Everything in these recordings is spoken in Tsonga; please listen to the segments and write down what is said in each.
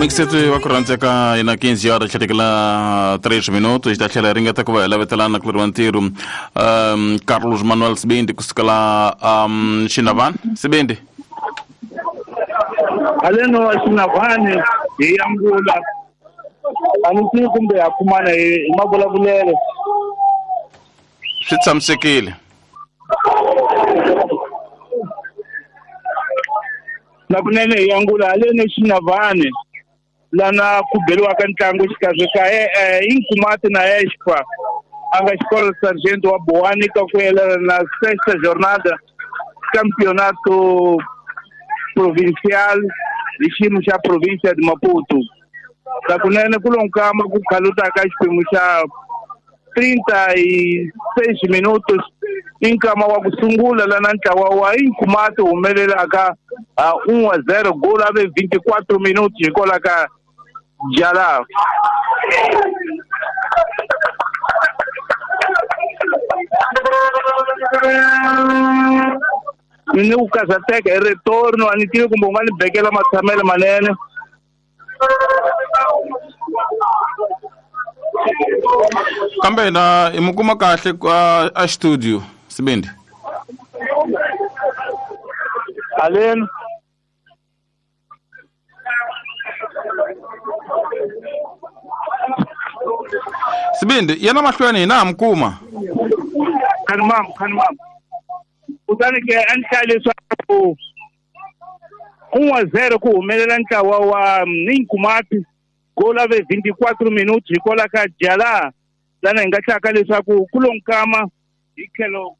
Mixeto wa ku rhandzeka ina 15 horas tlhetekela 3 minutos hi ta tlhela hi ringeta ku va hi lavetelana ku leriwa ntirho Carlos Manuel Sibindi kusukela Xinavani Sibindi haleno Xinavani hi angula a ni tivi kumbe ha kumana hi mavulavulelo. Swi tshamisekile. Na kunene hi angula haleni Xinavani lana ku beriwaka ntlangu xikarhi ka Inkumati na Expa a nga xikolo Sargento wa Boani ka ku yelana na sexta jornada campeonato provincial hi xiyimo xa provincia de Maputo. Na kunene ku lo nkama ku khalutaka xiphemu xa 36 minutos i nkama wa ku sungula lana ntlawa wa Inkumati humelelaka 1-0 goal ave 24 minutos hikwalaho ka Jala. Ni ku karhateka hi retorno a ni tivi kumbe u nga ni bekela matshamelo manene. Kambe na i mu kuma kahle a studio Sibindi. Aleni Sibindi yena mahlweni hina ha mi kuma. Khanimam khanimam. Kutani ke a ni hlaya leswaku 1-0 ku humelela ntlawa wa Inkumati goal ave 24 minutos hikwalaho ka Jala lana hi nga hlaka leswaku ku lo nkama hi tlhelo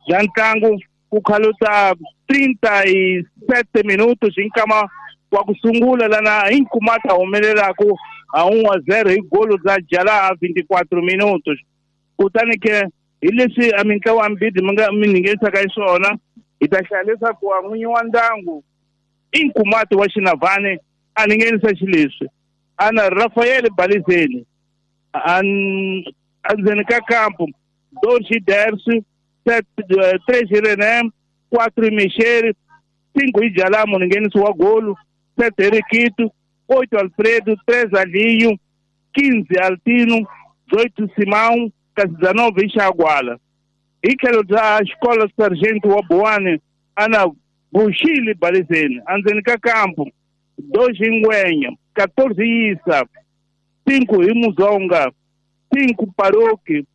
bya ntlangu ku khaluta 37 minutos hi nkama wa ku sungula lana Inkumati a humelelaku a 1-0 hi golo bya Jala a 24 minutos. Kutani ke hi leswi a mintlawa mbirhi mi nga mi nghenisaka hi swona hi ta hlaya leswaku wa n'winyi wa ndyangu Inkumati wa Xinavani a ni nghenisa xileswi ana Rafael Balizeni endzeni ka kampo 2 Dersi 3 René 4 Michel 5 Jala munhu nghenisi wa golo 7 Rikitu 8 Alfredo 3 Alinho 15 Altino 18 Simão kasi 19 Xagwala. Hi tlhelo bya xikolo Sargento wa Boani ana Bushili Balizeni endzeni ka kampo 2 Ngwenya 14 Isa 5 hi Muzonga 5 Paroki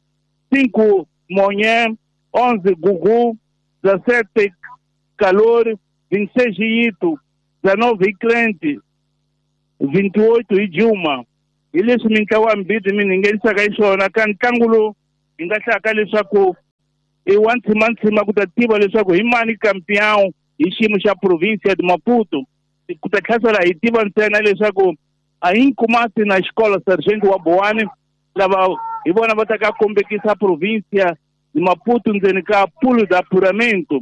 5 Monye 11 Gugu 17 Calor 26 Ito 19 Crente 28 hi Juma. Hi leswi mintlawa mbirhi mi nghenisaka hi swona ka ntlangu lowu hi nga hlaka leswaku i wa ntshimantsima ku ta tiva leswaku hi mani campeão hi xiyimo xa provincia de Maputo. Ku ta tlhasela hi tiva ntsena leswaku a Inkumati na xikolo Sargento wa Boani lava hi vona va ta ka kombekisa provincia de Maputo ndzeni ka pulo da apuramento.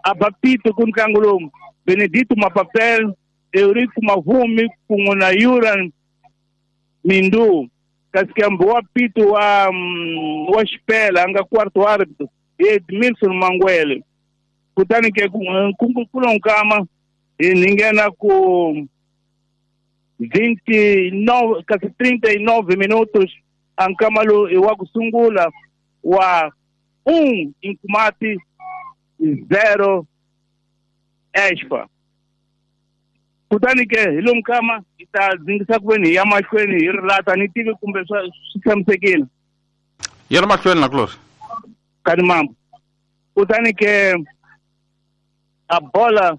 A bapito ku ntlangu lowu Benedito Mapapel Eurico Mavumi kun'we na Yuran Mindu kasi kambe wa pito wa Xipela a nga quarto árbitro Edmilson Mangwele. Kutani ke ku lo nkama hi nghena ku 29 kasi 39 minutos a nkama lowu i wa ku sungula wa 1 Inkumati 0 Expa. Kutani ke hi lo nkama hi ta dzingisa ku veni hi ya mahlweni hi rilata ni tivi kumbe swi tshamisekile. Yena mahlweni na Glory. Kani mambo. Kutani ke a bola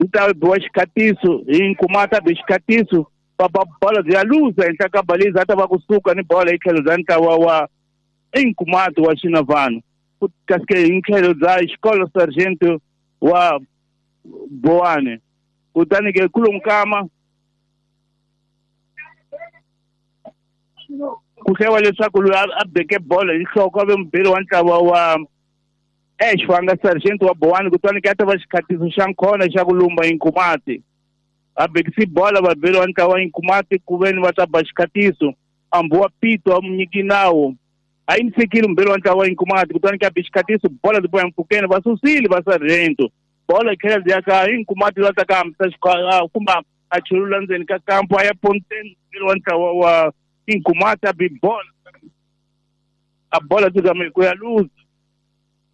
yi ta biwa xikhatiso hi Nkumati a be xikhatiso va ba bola bya luza henhla ka Baliza a ta va kusuka ni bola hi tlhelo bya ntlawa wa Inkumati wa Xinavani kasi ke hi tlhelo bya xikolo Sargento wa Boane. Kutani ke ku lo nkama ku hlewa leswaku loyi a beke bola hi nhloko a ve mubeli wa ntlawa wa Expa a nga Sargento wa Boani. Kutani ke a ta va xikhatiso xa nkhona xa ku lumba Inkumati a bekisi bola vabeli wa ntlawa wa Inkumati ku veni va ta ba xikhatiso ambu wa pito a munyiki nawu a yi ni fikile mubeli wa ntlawa wa Inkumati. Kutani ke a be xikhatiso bola ti boya mpfhukeni va susile va Sargento. Bola tlhela byi ya ka Inkumati la ta ka hambisa kumbe a chulula ndzeni ka kampo a ya ponteni wa ntlawa wa Inkumati a bi bola a bola tsikame ku ya luza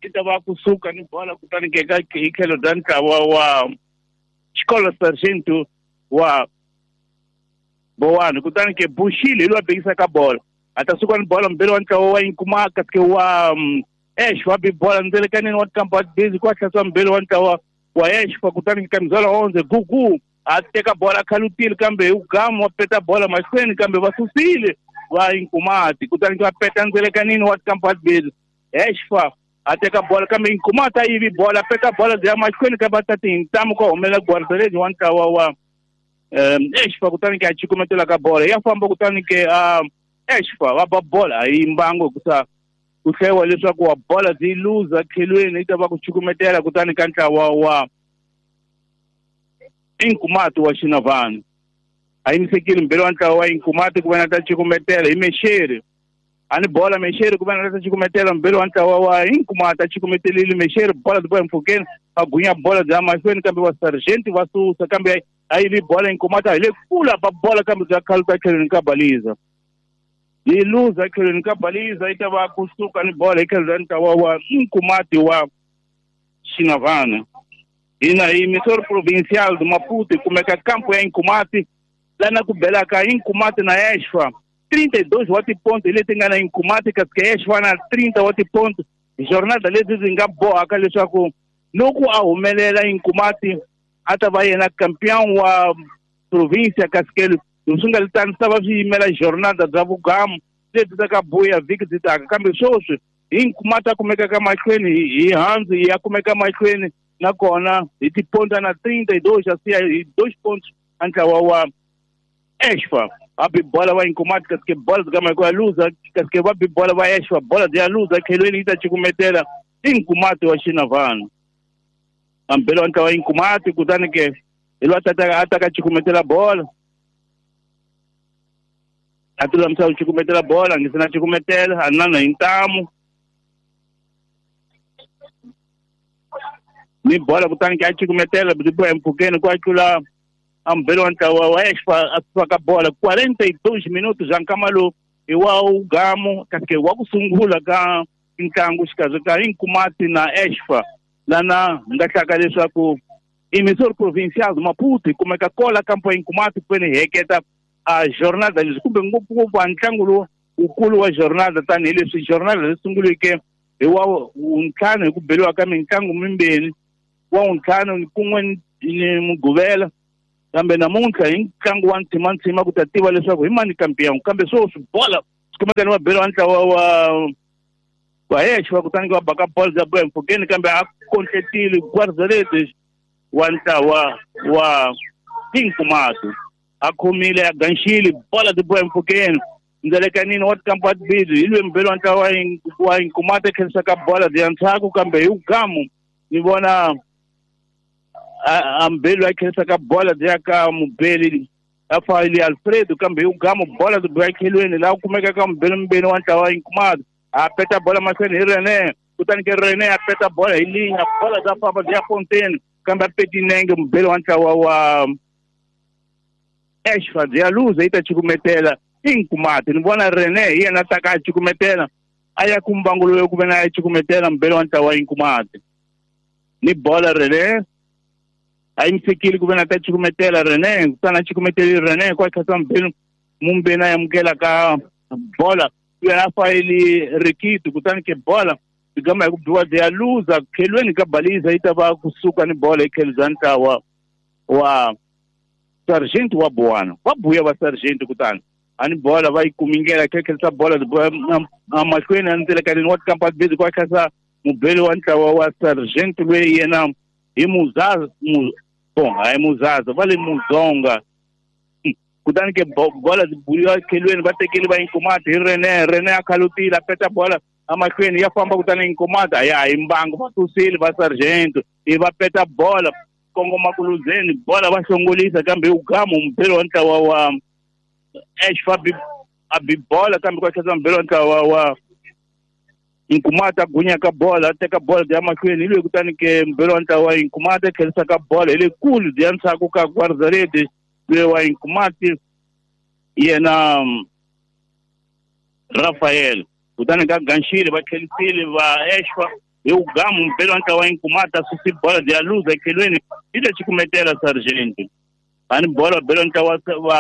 i ta va kusuka ni bola kutani ke ka hi tlhelo bya ntlawa wa xikolo sargento wa Bowani kutani ke Bushile hi loyi a bekisaka bola a ta suka ni bola mbele wa ntlawa wa Inkumaka ke wa Ash wa bi bola ndzelekaneni wa tikampa busy ku hlasela mbele wa ntlawa wa Ash fa kutani ka mizala onze gugu a teka bola khalutile kambe hi ugamu wa peta bola mahlweni kambe va susile va Inkumati kutani va peta ndzelekanini wa tikampa busy Ash fa a teka bola kambe Inkumati a yivi bola peta bola bya mahlweni kambe va ta tintamu ku humelela guardaredi wa ntlawa wa Ash fa kutani ke a cukumetela ka bola ya famba kutani ke Ash fa va ba bola a yi mbango hikusa ku hlewa leswaku wa bola byi luza tlhelweni yi ta va ku cukumetela kutani ka ntlawa wa Inkumati wa Xinavani a yimisekile mbele wa ntlawa wa Inkumati ku va na ta cukumetela hi Mexeri a ni bola Mexeri ku va na ta cukumetela mbele wa ntlawa wa Inkumati a cukumetelile Mexeri bola byi boha mpfhukeni a gunya bola bya mahlweni kambe va sergeant va susa kambe a yivi bola Inkumati a hi le kula ba bola kambe bya khaluta tlhelweni ka baliza yi luza tlhelweni ka baliza yi ta va kusuka ni bola hi tlhelo ra ntlawa wa Inkumati wa Xinavana hina hi Missouri Provincial do Maputo hi kumeka kampo ya Inkumati lana ku belaka Inkumati na Exfa 32 wa tiponto hi leti nga na Inkumati kasi ka Exfa na 30 wa tiponto hi jornada leti ndzi nga bohaka leswaku loko a humelela Inkumati a ta va yena campeon wa provincia kasi ke swi nga tani swi ta va swi yimela jornada bya vugamu leti ta ka buya vhiki byi taka kambe sweswi hi Inkumati a kumekaka mahlweni hi handzu ya kumeka mahlweni nakona hi tiponto na 32 a siya hi 2 pontos a ntlawa wa Exfa va bi bola va Inkumati kasi ke bola byi kama ya luza kasi ke va bi bola va Exfa bola byi ya luza tlhelweni yi ta cukumetela Inkumati wa Xinavana ambele wa ntlawa wa Inkumati kutani ke hi loyi a ta ka cukumetela bola a ti lulamisa ku cukumetela bola a nge se na cukumetela a nana hi ntamu ni bola kutani ke a cukumetela byi boha empfhukeni ku a tlula ambele wa ntlawa wa Exfa a suka ka bola 42 minutos za nkama lowu hi wa ugamu kasi ke wa ku sungula ka ntlangu xikarhi ka Inkumati na Exfa lana hi nga hlaka leswaku Emissor Provincial do Maputo hi kumeka kola kampo ya Inkumati kwene hi heketa a jornada leswi kumbe ngopfungopfu a ntlangu lowu wukulu wa jornada tanihileswi jornada leyi sunguleke hi wa wuntlhanu hi ku beliwa ka mitlangu mimbirhi wa wuntlhanu kun'we ni Mugqivela kambe namuntlha hi ntlangu wa ntshimantsima ku ta tiva leswaku hi mani kampiyangu kambe sweswi bola swi kumeka ni vabeli wa ntlawa wa Exfa kutani va baka bola bya boha mpfhukeni kambe a kontletile guardarede wa ntlawa wa Inkumati a khomile a ganxile bola byi boha mpfhukeni ndzelekanini wa tikampa tibili hi lwe mbeli wa ntlawa wa Inkumati a tlherisaka bola byi ya ndzhaku kambe hi ugamu ni vona a mbeli a tlherisaka bola byi ya ka mubeli a fayili Alfredo kambe hi ugamu bola byi boha tlhelweni laha ku kumekaka mubeli mbeni wa ntlawa wa Inkumati a peta bola mahlweni hi Rene kutani ke Rene a peta bola hi linya bola bya famba byi ya ponteni kambe a peti nenge mubeli wa ntlawa wa Exfa byi ya luza yi ta cukumetela Inkumati ni vona Rene hi yena ta ka a cukumetela a ya ku mbangu loyi ku ve na ya cukumetela mubeli wa ntlawa wa Inkumati ni bola Rene a yimisekile ku ve na ta cukumetela Rene kutani a cukumeteli Rene ku a tlhasa mubeli mumbeni a amukela ka bola yena a fayili Rikiti kutani ke bola byi gama hi ku biwa byi ya luza khelweni ka baliza yi ta va kusuka ni bola hi tlhelo bya ntlawa wa sergeant wa Buwana va buya va sergeant kutani a ni bola va yi kumingela khelisa bola mahlweni a ndzelekanini wa tikampa busy ku a tlhasa mubeli wa ntlawa wa sergeant loyi yena hi Muzaza bon hayi Muzaza va le Muzonga kutani ke bola byi buliwa khelweni va tekeli va Inkumati hi Rene Rene a khalutile a peta bola amahlweni ya famba kutani Inkumati a ya hi mbangu va susile va sergeant i va peta bola kongoma ku luzeni bola va hlongolisa kambe hi ugamu mubeli wa ntlawa wa Exfa a bi bola kambe ku tlhasa mubeli wa ntlawa wa Nkumata gunya ka bola teka bola ya mahlweni hi loyi kutani ke mbelo wa ntlawa wa Nkumati tlherisa ka bola hi le kulu ya ndzhaku ka guarda-redes loyi wa Nkumati yena Rafael kutani ka ganxile va tlherisile va Eshwa hi ugamu mpelo wa ntlawa wa Nkumati a susi bola ya luza ekhelweni hi le xikumetela Sargent ani bola belo ntlawa wa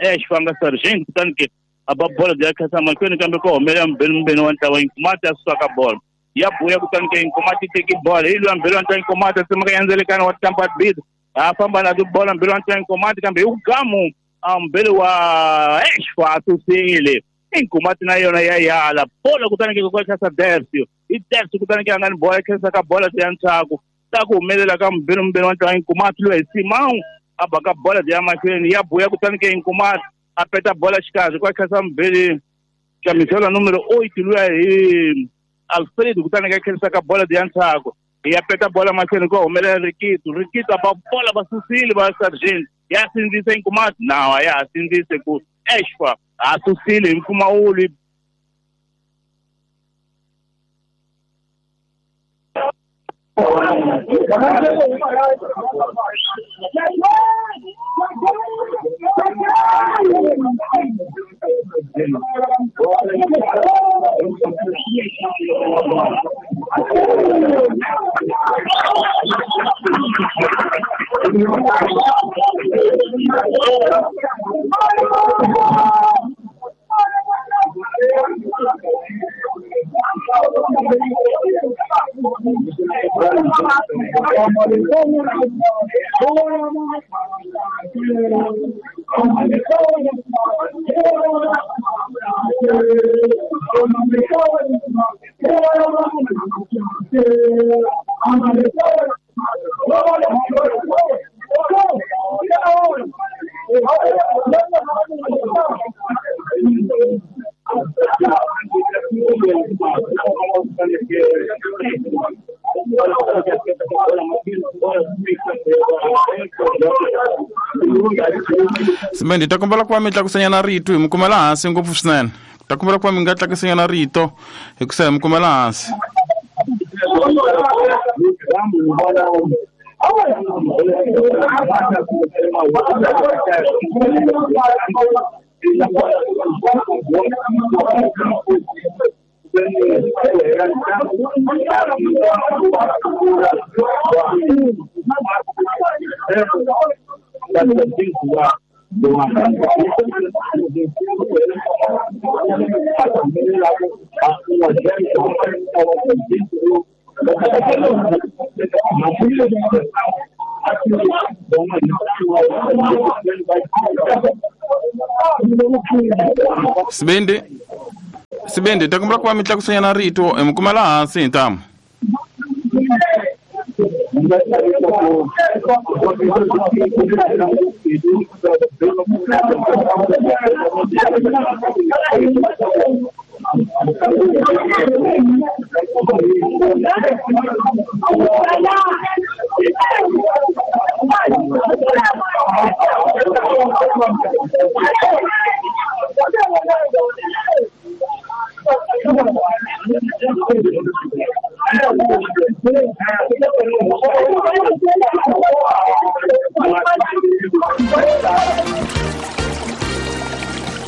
Eshwa nga Sargent kutani ke a ba bola ya khasa mahlweni kambe ko humelela mbeno wa ntlawa Nkumati a suka ka bola ya buya kutani ke Nkumati teki bola hi loyi mbelo wa ntlawa Nkumati a tsemaka yandzelekana wa tampa bid a famba na tibola mbelo wa ntlawa Nkumati kambe hi ugamu mbelo wa Eshwa a susile Nkumati na yona ya yala bola kutani ke kwa khasa Dersio hi Dersio kutani ke a nga ni bola khasa ka bola ya ndzhaku ta ku humelela ka mbeno wa ntlawa Nkumati loyi hi Simão a ba ka bola ya mahlweni ya buya kutani ke Nkumati a peta bola xikarhi kwa khasa mbili camisola numero 8 luya hi Alfredo kutani ka khensa ka bola ya ndzhaku ya peta bola mahlweni ko humelela Rikito Rikito ba bola va susile va Sargent ya sindzise Nkumati nawa ya sindzise ku Eshwa a susile hi mpfumawulo. Simendi ta kombela ku va mi tlakusanyana rito hi mi kumela hansi ngopfu swinene. Ta kombela ku va mi nga tlakusanyana rito hi ku sa hi mi kumela hansi. Sibindi Sibindi ta kombela ku va mi tlakusanyana rito hi mi kumela hansi hi ntamu.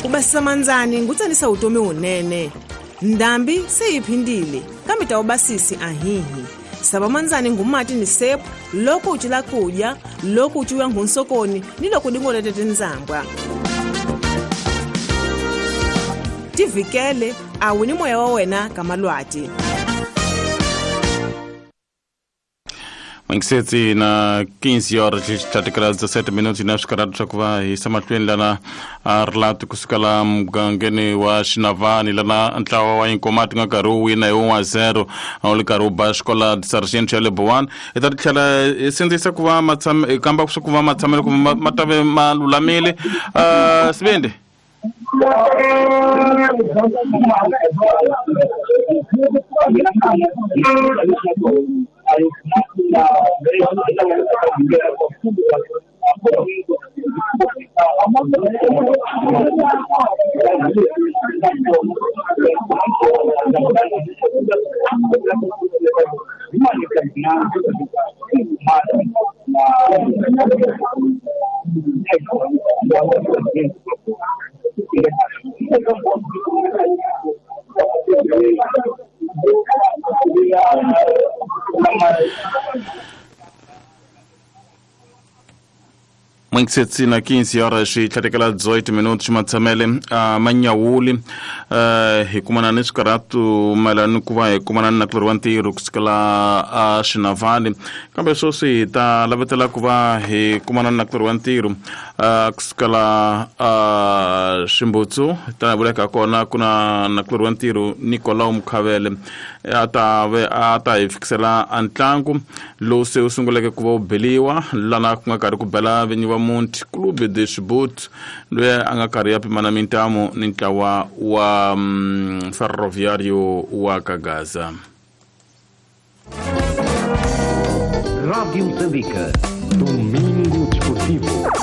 Ku basisa mandzani ngutsanisa vutomi wunene ndhambi se yi phindile kambe ta ubasisi ahihi sava mandzani ngumati ni sepu loko u cila kudya loko u cuya nghunsokoni ni loko dingolete tindzambwa tivikele a wu ni moya wa wena ka malwati. Mangisetsi na 15 horas 37 minutos na swikarhatu swa ku va hi yisa mahlweni lana a rilati kusuka la mugangeni wa Xinavani lana ntlawa wa Inkomati nga karhi wu wina hi 1-0 a wu ri karhi wu ba xikola Sargent ya le Bowani. Hi ta tlhela hi sindzisa ku va hi kamba swa ku va matshamelo ku ma ta ve ma lulamile. Sibindi Mwingisetsi na 15 horas yi tlhatekela 18 minutos matshamele a manyawuli hi kumana ni swikarhatu mayelana ni ku va hi kumana ni nakulorhi wa ntirho kusukela a xinavani kambe sweswi hi ta lavetela ku va hi kumana ni nakulorhi wa ntirho kusukela a ximbutsu tanihi vuleka kona ku na nakulorhi wa ntirho Nicolau Mukhavele a ta ve a ta hi fikisela a ntlangu lowu se wu sunguleke ku va wu beliwa lana ku nga karhi ku bela vinyi va Monte Clube de Chibut loyi a nga karhi ya pimana mintamu ni ntlawa wa Ferroviário wa Kagaza. Rádio Moçambique. Domingo.